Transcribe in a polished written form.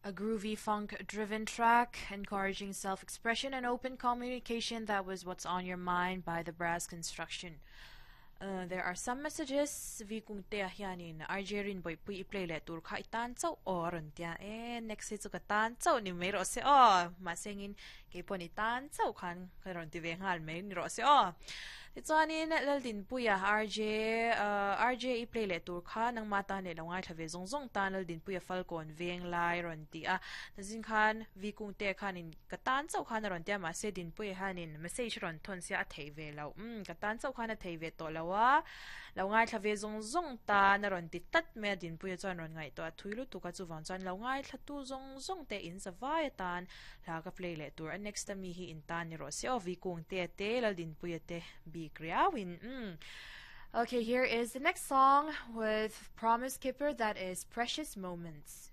A groovy funk driven track encouraging self expression and open communication that was What's On Your Mind by The Brass Construction. Uh, there are some messages vi kung te a hianin RJ rin boi pui i play leh tur kha i tan chauh aw a rawn tia e next hi chu ka tan chauh ni mai rawh se aw mahsengin kei pawh ni tan chauh khan ka rawn ti ve nghal mai ni rawh se aw tichuanin Laldinpuia RJ uh, RJ i play leh tur kha nangma tan leh lo ngaithla ve zawng zawng tan Laldinpuia Falkawn veng lai rawn ti a nazin khan vi kung te khanin Ka tan chauh khan a rawn ti a, mahse Dinpuia hianin message a rawn thawn sia a theih ve loh. Umm, ka tan chauh khan a thei ve tawh lo a, lo ngaithla ve zawng zawng tan a rawn ti tlat mai a, Dinpuia chuan rawn ngaihtuah a thui lutuk a, chuvang chuan lo ngaithla tu zawng zawng te in za vai atan hla ka play leh tur a, next a mi hi in tan ni rawh se aw, Vikungtea te, Laldinpuia te bik riau in. Umm. Okay, here is the next song with Promise Keeper that is Precious Moments.